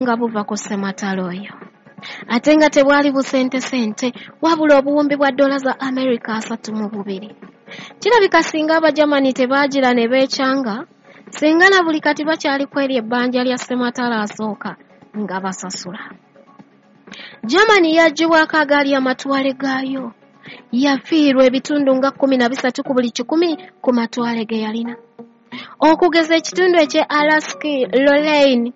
Nga buva ku ssematalo oyo, ate nga tebwali busentesente, wabula obuwumbi bwa ddoola za Amerika 32. Kirabika singa Abajamani tebaagira ne beekyanga, singa na buli kati bakyali ku eryo ebbanja lya ssematalo asooka nga basasula. Germany yaggyibwako agaali amatwale gaayo. Yafiirwa ebitundu nga 13 ku buli kikumi ku matwale ge yalina. Okugeza, ekitundu eky'e Alsace Lorraine,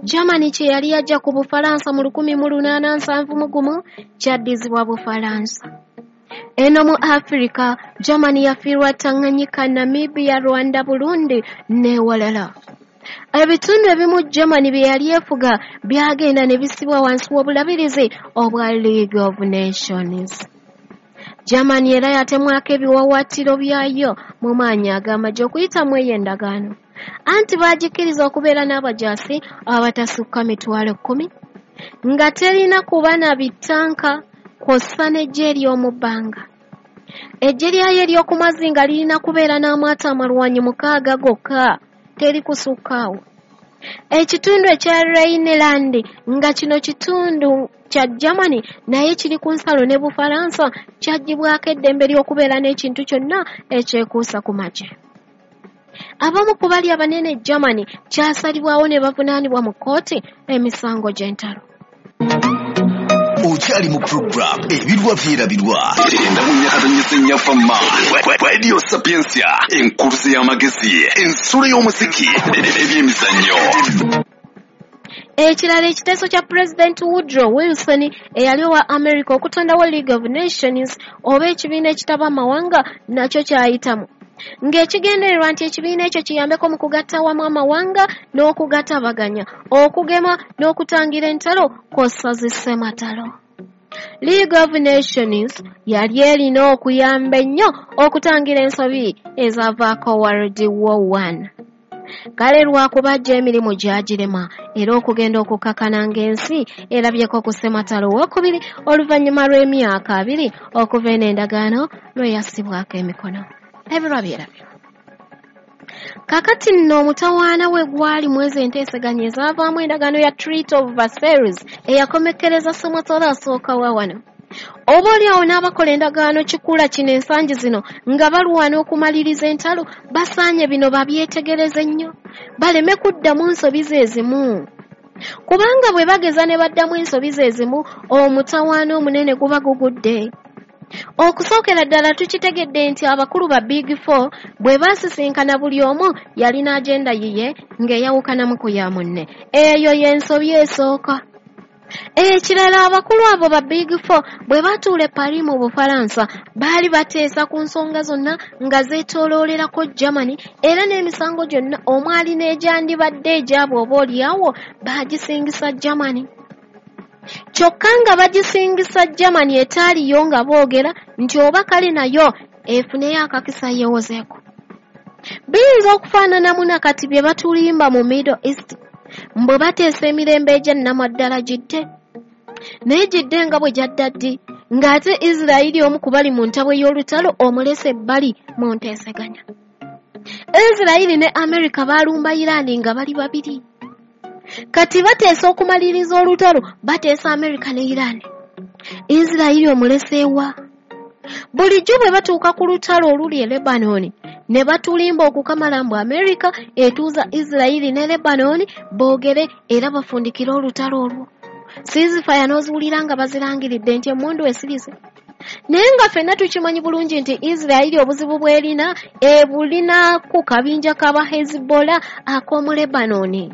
Germany kye yali yaggya ku Bufalansa mu 1871, kyaddizibwa Bufalansa. Eno mu Afirika, Germany yafiirwa Tanganyika, Namibia, Rwanda, Burundi n'ewalala. Ebitundu ebimu Germany bye yali efuga byagenda ne bissibwa wansi w'obulabirizi obwa League of Nations. Germany era yatemwako ebiwaawaatiro byayo mu maanyi ag'amagye okuyita mu eyo endagaano, anti baagikkiriza okubeera n'abajaasi abatasukka 10,000, nga terina kuba na bitanka kw'ossa n'eggye ery'omu bbanga. Eggye lyayo ery'oku mazzi nga lirina kubeera n'amaato amalwanyi 6 gokka, teri kusukka awo. Ekitundu ekya Rhineland, nga kino kitundu kya Germany naye kiri ku nsalo ne Bufalansa, kyaggyibwako eddembe ly'okubeera n'ekintu kyonna ekyekuusa ku magye. Abamu ku bali abanene e Germany kyasalibwawo ne bavunaanibwa mu kkooti emisango gy'entalo. Okyali mu program Ebirwa Byerabirwa, 94.4 Radio Sapiensia, enkuluze y'amagezi, ensulo y'omuziki n'ebyemizannyo. Ekirala, ekiteeso kya Pulezidenti Woodrow Wilson eyali owa America okutondawo League of Nations oba ekibiina ekitaba amawanga nakyo kyayitamu, ng'ekigendererwa nti ekibiina ekyo kiyambeko mu kugatta awamu amawanga n'okugatabaganya, okugema n'okutangira entalo kw'ossa zissematalo. League of Nations yali erina okuyamba ennyo okutangira ensobi ezaavaako World War One. Kale lwakuba gyo emirimu gyagirema, era okugenda okukakana ng'ensi erabyeko ku ssematalo owookubiri oluvannyuma lw'emyaka 20 okuva eno endagaano lwe yassibwako emikono. Ebirwa byerabirwa. Kakati nno omutawaana we gwali mu ezo enteeseganya ezaavaamu endagaano ya Treaty of Versailles eyakomekkereza ssematalo asooka wa wano. Oba oli awo n'abakola endagaano kikula kino ensangi zino nga balwana okumaliriza entalo, basaanye bino babyetegereze nnyo, baleme kuddamu nsobi ze zimu, kubanga bwe bageza ne baddamu ensobi ze zimu, omutawaana omunene guba gugudde. Okusookera ddala, tukitegedde nti abakulu ba Big Four bwe baasisinkana, buli omu yalina agenda yiye ng'eyawukanamu ku ya munne. Eyo y'ensobi esooka. Ekirala, abakulu abo ba Big Four bwe batuula e Paris mu Bufalansa, baali bateesa ku nsonga zonna nga zeetooloolerako Germany, era n'emisango gyonna omwali n'egyandibadde egyabwe oba oliawo baagisingisa Germany, kyokka nga bagisingisa Germany etaaliyo, nga boogera nti oba kale nayo efuneyo akakisa yeewozeeko. Biyinza okufaananamu nakati bye batulimba mu Middle East, mbwe bateesa emirembe egyannamaddala gidde, naye gidde nga bwe gyadda ddi, ng'ate Isirayiri omu ku bali mu ntabwe y'olutalo omulese ebbali mu nteeseganya? Isirayiri ne Amerika baalumba Iraani nga bali babiri. Kati bateesa okumaliriza olutalo, bateesa Amerika ne Iraani, Isirayiri omuleseewa? Bulijjo bwe batuuka ku lutalo oluli e Lebanoni ne batulimba okukamala mbu Amerika etuuza Isirayiri ne Lebanoni boogere era bafundikire olutalo olwo. Ceasefire n'oziwulira nga bazirangiridde nti emmundu esirise, naye nga ffenna tukimanyi bulungi nti Isirayiri obuzibu bw'erina ebulina ku kabinja k'aba Hezbollah ak'omu Lebanoni.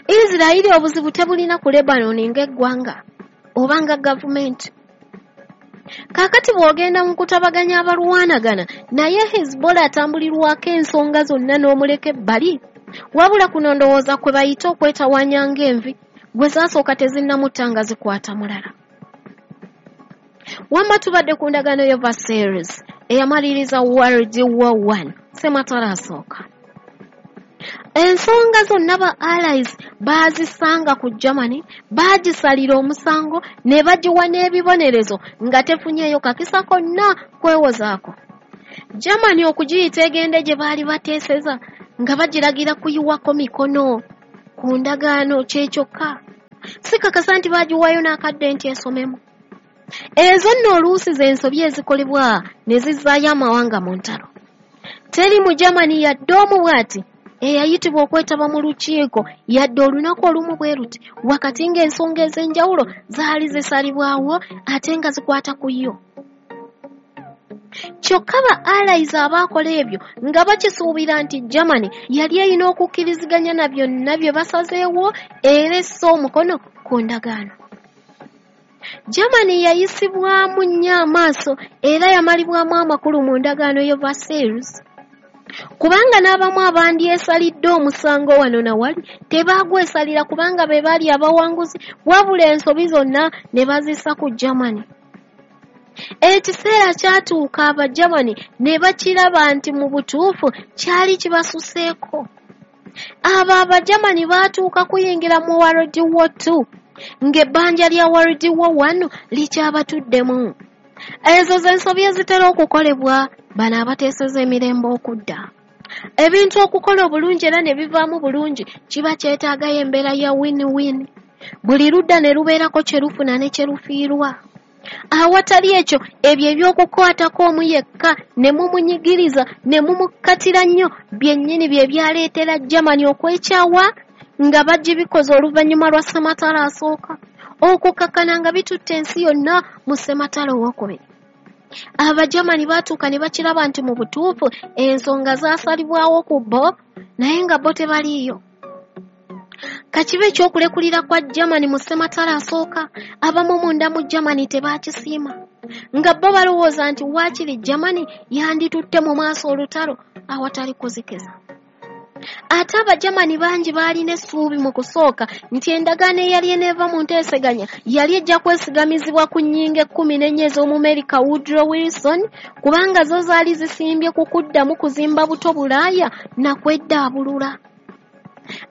Isirayiri obuzibu tebulina ku Lebanoni ng'eggwanga oba nga gavumenti. Kaakati bw'ogenda mu kutabaganya abalwanagana, naye Hezbollah atambulirwako ensonga zonna n'omuleka ebbali. Wabula kuno ndowooza kwe bayita okwetawaanya ng'envi gwe zaasooka tezinnamutta nga zikwata mulala. Wamma tubadde ku ndagaano ya Versailles eyamaliriza World War One, ssematalo asooka. Ensonga zonna ba Allies baazisanga ku Germany, baagisalira omusango ne bagiwa n'ebibonerezo nga tefunyeeyo kakisa konna kwewozaako. Germany okugiyita egende gye baali bateeseza nga bagiragira kuyiwako mikono ku ndagaano kye kyokka. Sikakasa nti baagiwaayo n'akadde nti esomemu. Ezo nno oluusi z'ensobi ezikolebwa ne zizzaayo amawanga mu ntalo. Teri mu Germany yadde omu bw'ati eyayitibwa okwetaba mu lukiiko yadde olunaku olumu bwe luti, wakati ng'ensonga ez'enjawulo zaali zisalibwawo ate nga zikwata ku yo. Kyokka ba allies abaakola ebyo nga bakisuubira nti Germany yali erina okukkiriziganya na byonna bye basazeewo era esse omukono ku ndagaano. Germany yayisibwamu nnyo amaaso era yamalibwamu amakulu mu ndagaano y'e Versailles, kubanga n'abamu abandyesalidde omusango wano na wali tebaagwesalira kubanga be baali abawanguzi, wabula ensobi zonna ne bazissa ku Germany. Ekiseera kyatuuka Abagermany ne bakiraba nti mu butuufu kyali kibasuseeko. Abo Abagermany baatuuka kuyingira mu World War II ng'ebbanja lya World War I likyabatuddemu. Ezo z'ensobi ezitera okukolebwa bano abateeseza emirembe okudda. Ebintu okukola obulungi era ne bivaamu bulungi kiba kyetaagayo embeera ya win-win. Buli ludda ne lubeerako kye lufuna ne kye lufiirwa. Awatali ekyo, ebyo eby'okukwatako omu yekka ne mumunyigiriza ne mumukkatira nnyo byennyini bye byaleetera Germany okwekyawa nga bagibikoze oluvannyuma lwa Ssematalo asooka, okukakkana nga bitutte ensi yonna mu Ssematalo owookubiri. Abagermany baatuuka ne bakiraba nti mu butuufu ensonga zaasalibwawo ku bo naye nga bo tebaliiyo. Kakibe ekyokulekulira kwa Germany mu Ssematalo asooka, abamu munda mu Germany tebaakisiima, nga bo balowooza nti waakiri Germany yanditutte mu maaso olutalo awatali kuzikiza. Ate Abagermany bangi baalina essuubi mu kusooka nti endagaano eyali eneeva mu nteeseganya yali ejja kwesigamizibwa ku nnyingo 14 ez'Omumerika Woodrow Wilson, kubanga zo zaali zisimbye ku kuddamu kuzimba buto Bulaaya na kweddaabulula.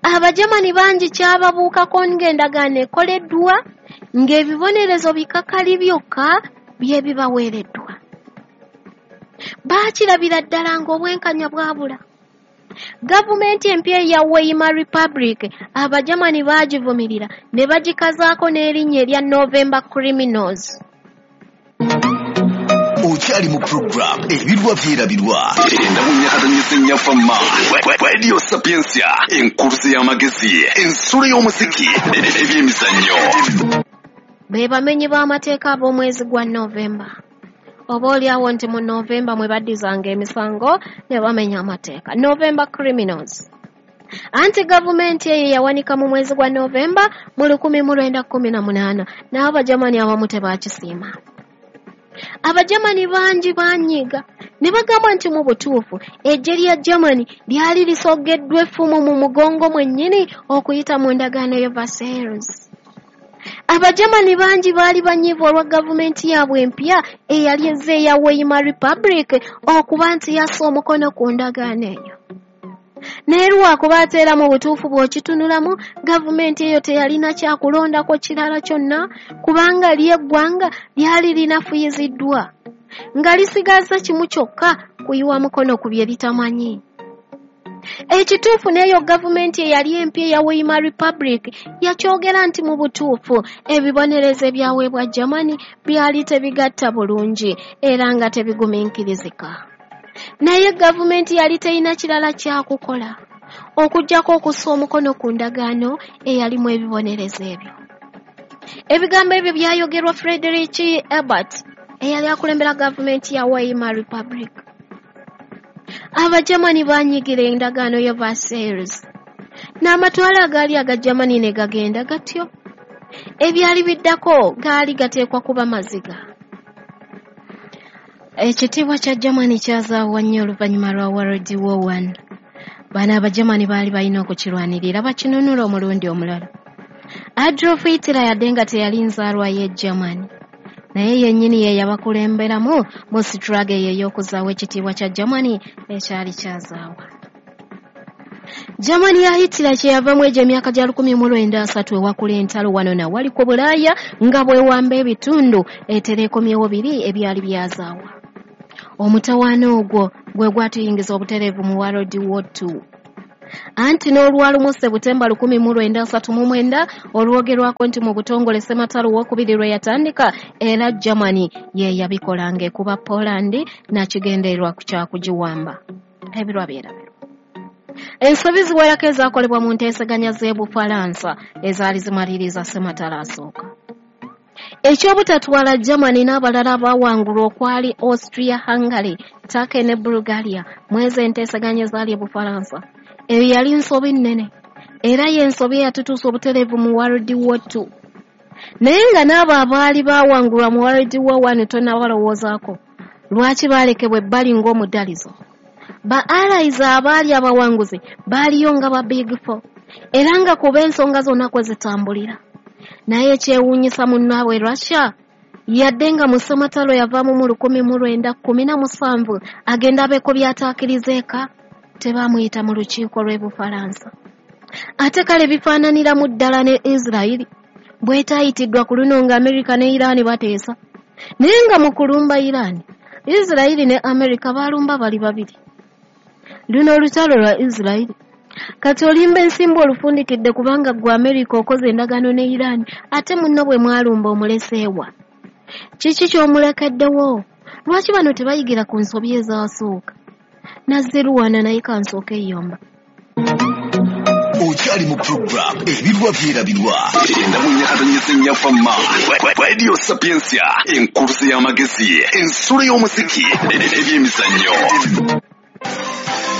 Abagermany bangi kyababuukako ng'endagaano ekoleddwa ng'ebibonerezo bikakali byokka bye bibaweereddwa. Baakirabira ddala ng'obwenkanya bwabula. Gavumenti empya eya Weimar Republic Abagermany baagivumirira ne bagikazaako n'erinnya erya November Criminals. Okyali mu program Ebirwa Byerabirwa enda.7 Radio Sapientia, enkuluze y'amagezi, ensulo y'omuziki, ebyemizannyo. Be bamenyi b'amateeka ab'omwezi gwa Novemba. Oba oliawo nti mu Novemba mwe baddizanga emisango ne bamenya amateeka. November Criminals. Anti gavumenti eyo yawanika mu mwezi gwa Novemba mu 1918 n'Abagermany abamu tebaakisiima. Abagermany bangi banyiga ne bagamba nti mu butuufu eggye lya Germany lyali lisogeddwa effumu mu mugongo mwennyini okuyita mu ndagaano y'e Versailles. Abagermany bangi baali banyiivu olwa gavumenti yaabwe empya eyali ezze eya Weimar Republic okuba nti yassa omukono ku ndagaano eyo. Naye lwakuba ate era mu butuufu bw'okitunulamu, gavumenti eyo teyalina kyakulondako kirala kyonna kubanga ly'eggwanga lyali linafuyiziddwa, nga lisigazza kimu kyokka kuyiwa mukono ku bye litamanyi. Ekituufu n'eyo gavumenti eyali empya eya Weimar Republic yakyogera nti mu butuufu ebibonerezo ebyaweebwa Germany byali tebigatta bulungi era nga tebigumiikirizika. Naye gavumenti yali terina kirala kyakukola okuggyako okussa omukono ku ndagaano eyalimu ebibonerezo ebyo. Ebigambo ebyo byayogerwa Friedrich Ebert eyali akulembera gavumenti ya Weimar Republic. Abagermany baanyigira endagaano ya Versailles n'amatwale agaali aga Germany ne gagenda gatyo. Ebyali biddako gaali gateekwa kuba maziga. Ekitiibwa kya Germany kyazaawa nnyo oluvannyuma lwa World War I. Bano Abagermany baali balina okukirwanirira bakinunula omulundi omulala. Adolf Hitler yadde nga teyali nzaalwa y'e Germany, naye yennyini ye yabakulemberamu mu struggle eyo ey'okuzaawa ekitiibwa kya Germany ekyali kyazaawa. Germany ya Hitler kye yavamu egyo emyaka gya 1930 ewakula entalo wano na wali ku Bulaaya nga bwewamba ebitundu etera ekomyewo biri ebyali byazaawa. Omutawaana ogwo gwe gwatuyingiza obutereevu mu World War II. Anti n'olwalumu Sebutemba 1939 olwogerwako nti mu butongole Ssematalo owokubiri lwe yatandika, era Germany ye yabikola ng'ekuba Poland nakigendererwa kya kugiwamba. Ebirwa byerabirwa. Ensobi ziwerako ezaakolebwa mu nteeseganya z'e Bufalansa ezaali zimaliriza Ssematalo asooka. Ekyobutatwala Germany n'abalala abaawangulwa okwali Austria-Hungary, Turkey ne Bulgaria mu ezo enteeseganya ezaali e Bufalansa. Eyo yali nsobi nnene, era y'ensobi eyatutuusa obutereevu mu World War II. Naye nga n'abo abaali baawangulwa mu World War I tonnabalowoozaako, lwaki baalekebwa ebbali ng'omudalizo? Ba allies abaali abawanguzi baaliyo nga ba Big Four, era nga kuba ensonga zonna kwe zitambulira. Naye ekyewuunyisa munnaabwe Russia, yadde nga mu Ssematalo yavaamu mu 1917 agenda abeeko by'ataakiriza eka, tebaamuyita mu lukiiko lw'e Bufalansa. Ate kale bifaananiramu ddala ne Israeli bw'etaayitiddwa ku luno nga Amerika ne Iran bateesa. Naye nga mu kulumba Iran, Israeli ne Amerika baalumba bali babiri. Luno olutalo lwa Israeli. Kati olimba ensimbu olufundikidde kubanga ggwe Amerika okoze endagaano ne Iran, ate munno bwe mwalumba omuleseewa. Kiki ky'omulekeddewo? Lwaki bano tebayigira ku nsobi ezaasooka? Nazziruwana naye kansooke eyomba. Okyali mu program Ebirwa Byerabirwa. Enda mu nyakatonyese nnyaffa ma. Radio Sapientia, enkuluze y'amagezi, ensulo y'omuziki, ebyemizannyo.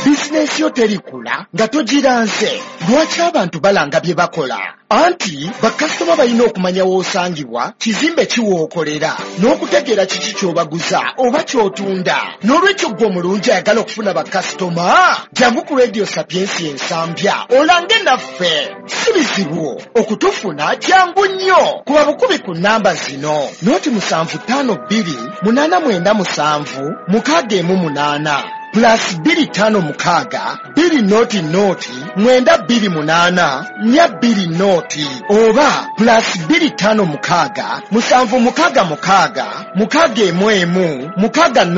Bizinensi yo terikula nga togiranze. Lwaki abantu balanga bye bakola? Anti bakasitoma balina okumanya w'osangibwa, kizimbe ki w'okolera, n'okutegeera kiki ky'obaguza oba ky'otunda. N'olwekyo ggwe omulungi ayagala okufuna bakasitoma, jangu ku Radio Sapientia Ensambya olange naffe. Si bizibu okutufuna, kyangu nnyo. Kuba bukubi ku nnamba zino: 0 752 897 618, +256 2 0 0 928 420, oba +256 766 611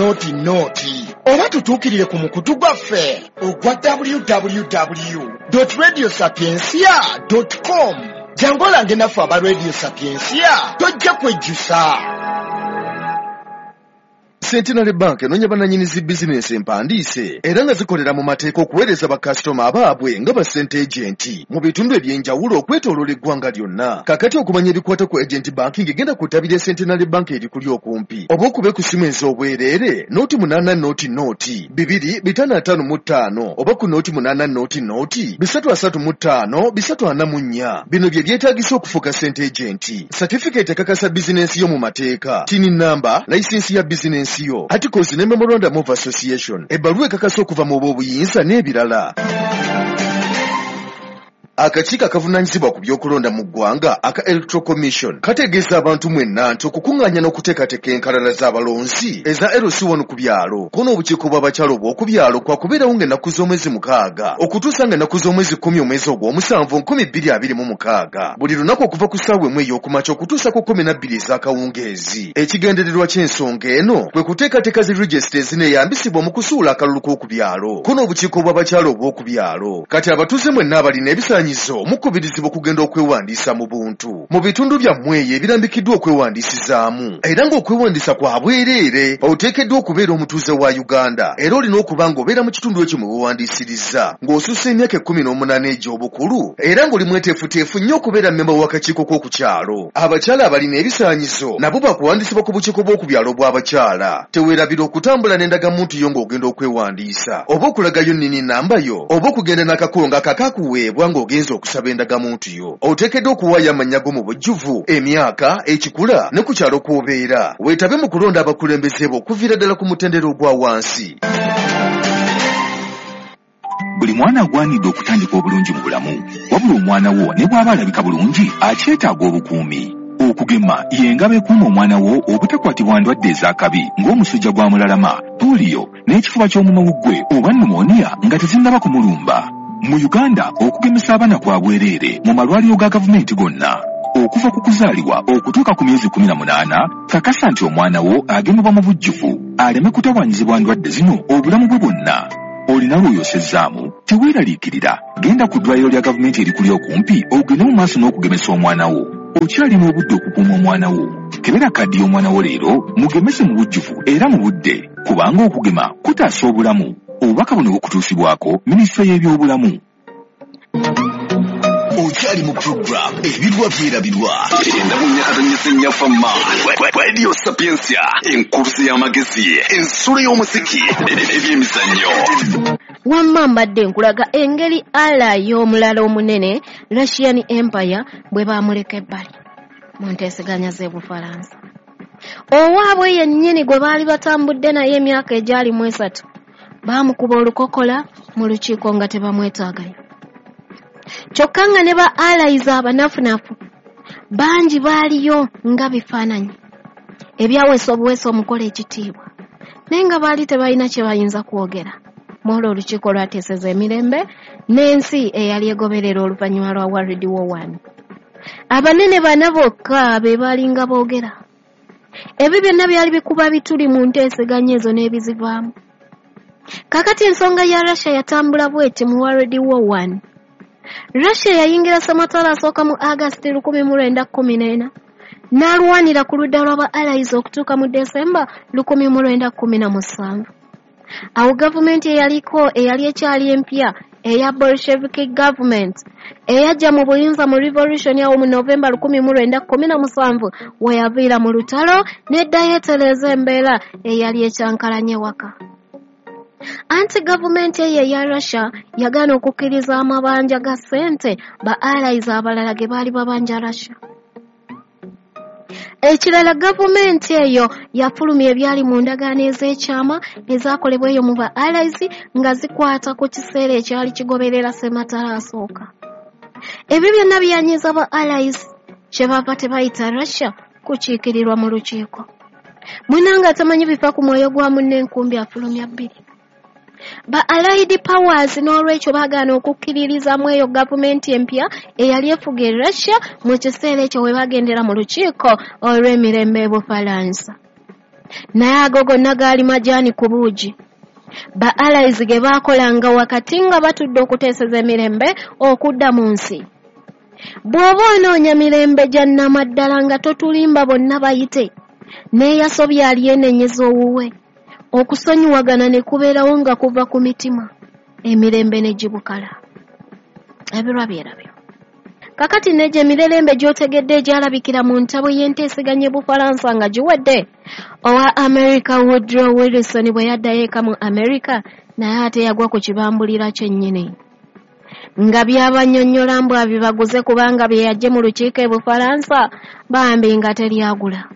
600, oba tutuukirire ku mukutu gwaffe ogwa www.radiosapiencia.com. Jangu olange naffe aba Radio Sapiencia, tojja kwejjusa. Centenary Bank enoonya bannannyini zi bizinensi empandiise era nga zikolera mu mateeka okuweereza bakasitoma abaabwe nga ba sente agent mu bitundu eby'enjawulo okwetooloola eggwanga lyonna. Kaakati okumanya ebikwata ku agent banking, genda ku ttabi lya Centenary Bank erikuli okumpi oba okube ku ssimu ez'obwereere 080 0 2 555 oba ku 080 0 335 344. Bino bye byetaagisa okufuuka sente agent: satifikeeti ekakasa bizinensi yo mu mateeka, TIN number, layisinsi ya bizinensi yo, articles ne memorandum of association, ebbaluwa ekakasa okuva mu b'obuyinza n'ebirala. Akakiiko akavunaanyizibwa ku by'okulonda mu ggwanga aka Electoral Commission kategeeza abantu mwenna nti okukuŋŋaanya n'okuteekateeka enkalala z'abalonzi eza LC1 ku byalo ko n'obukiiko bw'abakyala obw'oku byalo kwakubeerawo ng'ennaku z'omwezi 6 okutuusa ng'ennaku z'omwezi 10 omwezi ogw'omusanvu 2026, buli lunaku okuva ku ssaawa 1 ey'okumakya okutuusa ku 12 ez'akawungeezi. Ekigendererwa ky'ensonga eno kwe kuteekateeka zi regisita ezineeyambisibwa mu kusuula akalulu k'oku byalo ko n'obukiiko bw'abakyala obw'oku byalo. Kati abatuuze mwenna abalina ebisaanyizo mukubirizibwa okugenda okwewandiisa mu buntu mu bitundu byammwe eyo ebirambikiddwa okwewandiisizaamu, era ng'okwewandiisa kwa bwereere. Oteekeddwa okubeera omutuuze wa Uganda era olina okuba ng'obeera mu kitundu ekyo mwe weewandiisiriza, ng'osussa emyaka 18 egy'obukulu, era ng'oli mweteefuteefu nnyo okubeera mmemba w'akakiiko k'oku kyalo. Abakyala abalina ebisaanyizo nabo bakuwandiisibwa ku bukiiko bw'oku byalo bw'abakyala. Teweerabira okutambula n'endagamuntu yo ng'ogenda okwewandiisa, oba okulagayo NIN number yo, oba okugenda n'akakongo akakakuweebwa ng'ogenza okusaba endagamuntu yo. Oteekeddwa okuwaayo amannya go mu bujjuvu, emyaka, ekikula ne ku kyalo kw'obeera. Weetabe mu kulonda abakulembeze bo okuviira ddala ku mutendera ogwa wansi. Buli mwana agwanidde okutandika obulungi mu bulamu, wabula omwana wo ne bw'aba alabika bulungi akyetaaga obukuumi. Okugema y'engabo ekuuma omwana wo obutakwatibwa ndwadde ez'akabi ng'omusujja gwa mulalama, pooliyo n'ekifuba ky'omumawuggwe oba pneumonia nga tezinnaba kumulumba. Mu Uganda, okugemesa abaana kwa bwereere mu malwaliro ga gavumenti gonna okuva ku kuzaalibwa okutuuka ku myezi 18. Kakasa nti omwana wo agemebwa mu bujjuvu aleme kutawaanyizibwa ndwadde zino obulamu bwe bwonna. Olina lw'oyosezzaamu? Teweeraliikirira. Genda ku ddwaliro lya gavumenti erikuli okumpi ogende mu maaso n'okugemesa omwana wo. Okyalina obudde okukuuma omwana wo. Kebera kaddi y'omwana wo leero, mugemese mu bujjuvu era mu budde, kubanga okugema kutaasa obulamu. Obubaka buno bukutuusibwako Minisitule y'Ebyobulamu. Okyali mu program Ebirwa Byerabirwa 94.4 Fama Radio Sapientia, enkuluze y'amagezi, ensulo y'omuziki, ebyemizannyo. Wamma mbadde nkulaga engeri ala y'omulala omunene Russian Empire bwe baamuleka ebbali mu nteeseganya z'Ebufalansa. Owaabwe yennyini gwe baali batambudde naye emyaka egyali mu 3 baamukuba olukokola mu lukiiko nga tebamwetaagayo. Kyokka nga ne ba allies abanafunafu bangi baaliyo nga bifaananyi ebyaweesa obuweesa omukola ekitiibwa, naye nga baali tebalina kye bayinza kwogera. Mwolwo olukiiko lwateeseza emirembe n'ensi eyali egoberera oluvannyuma lwa World War I. Abanene bana bokka be baalinga boogera. Ebyo byonna byali bikuba bituli mu nteeseganya ezo n'ebizivaamu. Kaakati ensonga ya Russia yatambula bw'eti mu World War I. Russia yayingira ssematalo asooka mu August 1914 n'alwanira ku ludda lw'aba allies okutuuka mu December 1917. Awo gavumenti eyaliko eyali ekyali empya eya Bolshevik government eyajja mu buyinza mu revolution awo mu November 1917 we yaviira mu lutalo n'eddayo etereeza embeera eyali ekyankalanye waka. Anti gavumenti eyo eya Russia yagaana okukkiriza amabanja ga ssente ba allies abalala ge baali babanja Russia. Ekirala gavumenti eyo yafulumya ebyali mu ndagaano ez'ekyama ezaakolebwa eyo mu ba allies nga zikwata ku kiseera ekyali kigoberera ssematalo asooka. Ebyo byonna byanyiiza ba allies kye bava tebayita Russia kukiikirirwa mu lukiiko. Munna nga tamanyi bifa ku mwoyo gwa munne enkumbi afulumya bbiri. Ba allied powers n'olwekyo baagaana okukkiririzamu eyo gavumenti empya eyali efuga e Russia mu kiseera ekyo we bagendera mu lukiiko olw'emirembe e Bufalansa. Naye ago gonna gaali majaani ku buugi. Ba allies ge baakolanga wakati nga batudde okuteeseza emirembe okudda mu nsi. Bw'oba onoonya mirembe gya nnamaddala nga totulimba bonna bayite, n'eyasobya alyenenyeza owuwe. Okusonyiwagana ne kubeerawo nga kuva ku mitima, emirembe ne gibukala. Ebirwa byerabyo. Kakati n'egyo emirerembe gy'otegedde egyalabikira mu ntabwe y'enteeseganya e Bufalansa nga giwedde, owa America Woodrow Wilson bwe yaddayo eka mu America naye ate yagwa ku kibambulira kyennyini. Nga byabannyonnyola mbu abibaguze kubanga bye yaggye mu lukiiko e Bufalansa bambi nga teryagula.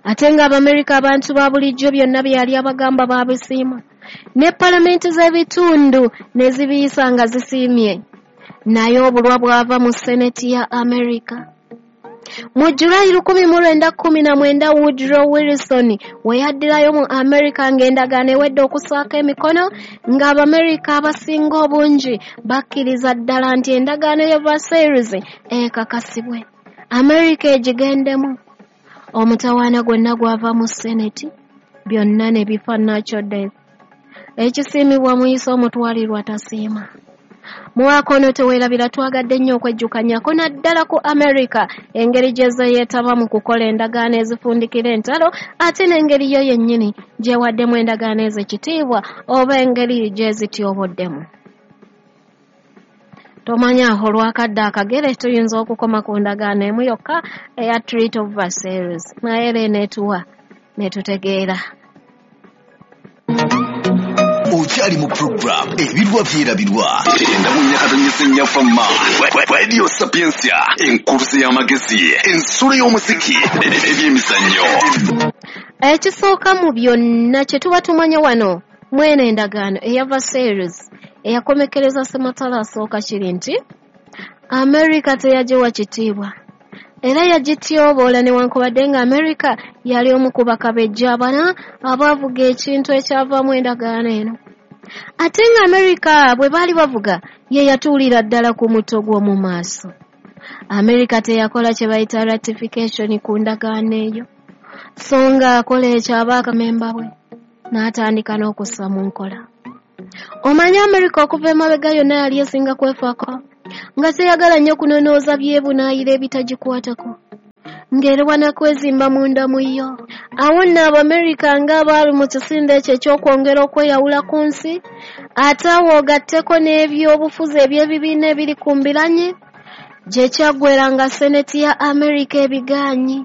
Ate ng'Abamerika abantu ba bulijjo byonna bye yali abagamba baabisiima. Ne palamenti z'ebitundu ne zibiyisa nga zisiimye. Naye obulwa bwava mu Seneti ya Amerika. Mu Julayi 1919 Woodrow Wilson we yaddirayo mu Amerika ng'endagaano ewedde okussaako emikono, ng'Abamerika abasinga obungi bakkiriza ddala nti endagaano ya Versailles ekakasibwe, Amerika egigendemu. Omutawaana gwonna gwava mu Seneti, byonna ne bifa natural death. Ekisiimibwa muyise omutwalirwa tasiima. Mwaka ono teweerabira twagadde nnyo okwejjukanyako naddala ku Amerika engeri gye yeetaba mu kukola endagaano ezifundikira entalo ate n'engeri yo yennyini gyewaddemu endagaano ez'ekitiibwa oba engeri gye zityoboddemu. Tomanya olwakadde akagere tuyinza okukoma ku ndagaano emu yokka eya Treaty of Versailles, naye era eneetuwa ne tutegeera. Okyali mu program Ebirwa Byerabirwa 94.4 Fama Radio Sapientia, enkuluze y'amagezi, ensulo y'omuziki, ebyemizannyo. Ekisooka mu byonna kye tuba tumanya wano mwene endagaano eya Versailles eyakomekereza ssematalo asooka kiri nti Amerika teyagiwa kitiibwa era yagityoboola newankubadde nga Amerika yali omu ku bakabejja abana abaavuga ekintu ekyavaamu endagaano eno. Ate nga Amerika bwe baali bavuga ye yatuulira ddala ku muto gw'omu maaso. Amerika teyakola kye bayita ratification ku ndagaano eyo, so nga akola ekyo aba akamemba bwe n'atandika n'okussa mu nkola. Omanyi Amerika okuva emabega yonna yali esinga kwefaako, nga teyagala nnyo kunonooza byebunaayira ebitagikwatako, ng'erwana kwezimba munda mu yo. Awo nno Abamerika ng'abaali mu kisinde ekyo eky'okwongera okweyawula ku nsi, ate awo ogatteko n'ebyobufuzi eby'ebibiina ebiri ku mbiranye, gye kyaggweera nga Seneti ya Amerika ebigaanyi.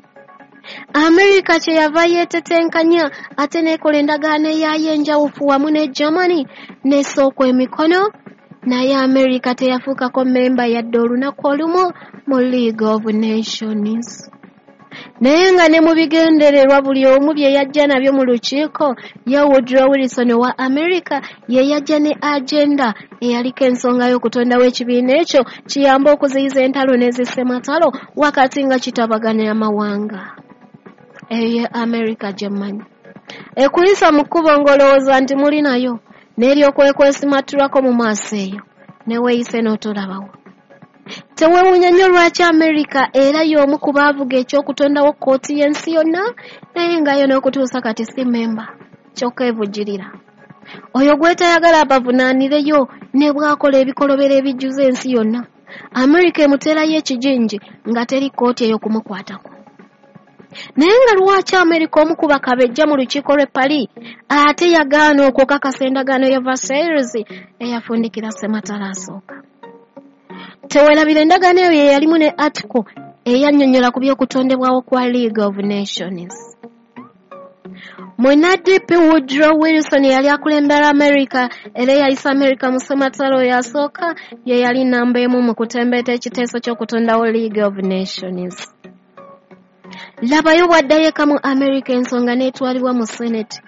Amerika kye yava yeetetenkanya ate n'ekola endagaano eyaayo enjawufu wamu ne Germany n'esooka emikono, naye Amerika teyafuukako mmemba yadde olunaku olumu mu League of Nations. Naye nga ne mu bigendererwa buli omu bye yajja nabyo mu lukiiko, ye Woodrow Wilson owa Amerika ye yajja ne agenda eyaliko ensonga y'okutondawo ekibiina ekyo kiyambe okuziyiza entalo n'ezissematalo wakati nga kitabaganya amawanga. Eyo ye Amerika gye mmanyi. Ekuyisa mu kkubo ng'olowooza nti muli nayo, n'eryokwekwesimatullako mu maaso eyo, ne weeyise n'otolabawo. Teweewuunya nnyo lwaki Amerika era y'omu ku baavuga eky'okutondawo kkooti y'ensi yonna, naye nga yo n'okutuusa kati si mmemba, kyokka evujjirira. Oyo gw'etayagala abavunaanireyo ne bw'akola ebikolobero ebijjuza ensi yonna, Amerika emuteerayo ekijinji nga teri kkooti eyo kumukwatako. Naye nga lwaki Amerika omu ku bakabejja mu lukiiko lw'e Paris ate yagaana okukakasa endagaano ya Versailles eyafundikira Ssematalo asooka? Teweerabira endagaano eyo ye yalimu ne article eyannyonnyola ku by'okutondebwawo kwa League of Nations. Munnadp Woodrow Wilson eyali akulembera Amerika era eyayisa Amerika mu Ssematalo oyo asooka ye yali nnamba emu mu kutembeeta ekiteeso ky'okutondawo League of Nations. Labayo bw'addayo eka mu Amerika ensonga n'etwalibwa mu Senate.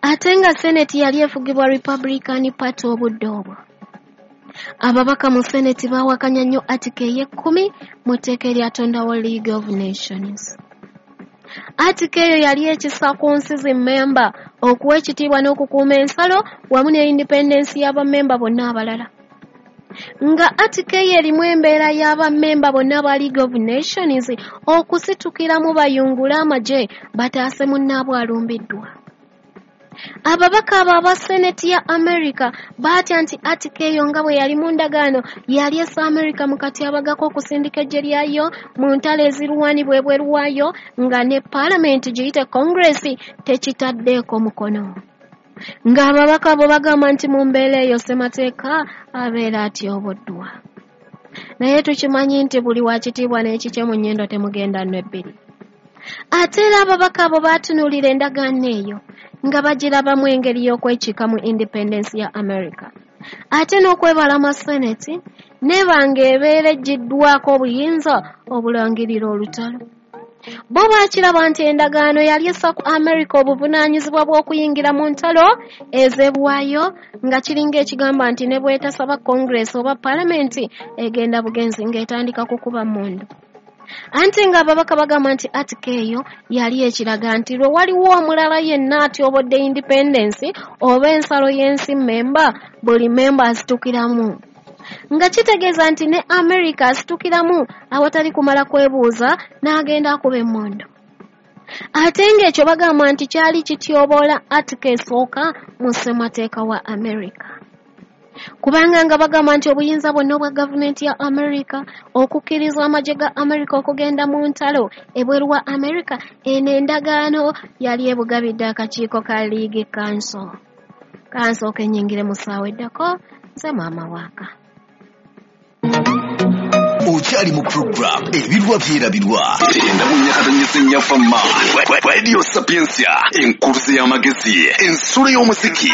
Ate nga Senate yali efugibwa Republican Party obudde obwo. Ababaka mu Senate baawakanya nnyo article ey'ekkumi mu tteeka eryatondawo League of Nations. Article eyo yali ekisa ku nsi zimmemba okuwa ekitiibwa n'okukuuma ensalo wamu ne independence y'abammemba bonna abalala. Nga article eyo erimu embeera y'abammemba bonna aba League of Nations okusitukiramu bayungule amagye bataase munnaabwe alumbiddwa. Ababaka abo aba Senate ya Amerika baatya nti article eyo nga bwe yali mu ndagaano yali essa Amerika mu katyabaga k'okusindika eggye lyayo mu ntalo ezirwanibwa ebweru waayo nga ne Paalamenti giyite Congress tekitaddeeko mukono. Ng'ababaka abo bagamba nti mu mbeera eyo ssemateeka abeera atyoboddwa. Naye tukimanyi nti buli wa kitiibwa n'ekikye mu nnyindo temugenda nno ebbiri. Ate era ababaka abo baatunuulira endagaano eyo nga bagirabamu engeri y'okwekiika mu independence ya Amerika. Ate n'okwebalama Senate n'eba ng'ebeera eggiddwako obuyinza obulangirira olutalo. Bo baakiraba nti endagaano yali essa ku Amerika obuvunaanyizibwa bw'okuyingira mu ntalo ez'ebwayo nga kiringa ekigamba nti ne bw'etasaba Congress oba Paalamenti egenda bugenzi ng'etandika kukuba mmundu. Anti ng'ababaka bagamba nti article eyo yali ekiraga nti lwe waliwo omulala yenna atyobodde independence oba ensalo y'ensi mmemba, buli mmemba asitukiramu. Nga kitegeeza nti ne Amerika asitukiramu awatali kumala kwebuuza n'agenda akuba emmundu. Ate ng'ekyo bagamba nti kyali kityoboola article esooka mu ssemateeka wa Amerika. Kubanga nga bagamba nti obuyinza bwonna obwa gavumenti ya Amerika okukkiriza amagye ga Amerika okugenda mu ntalo ebweru wa Amerika, eno endagaano yali ebugabidde akakiiko ka League Council. Kansooke nnyingire mu ssaawa eddako, nze maama waaka. Okyali mu program Ebirwa Byerabirwa enda mu nyakatonyese nnyafamma Radio Sapientia, enkuluze y'amagezi, ensulo y'omuziki.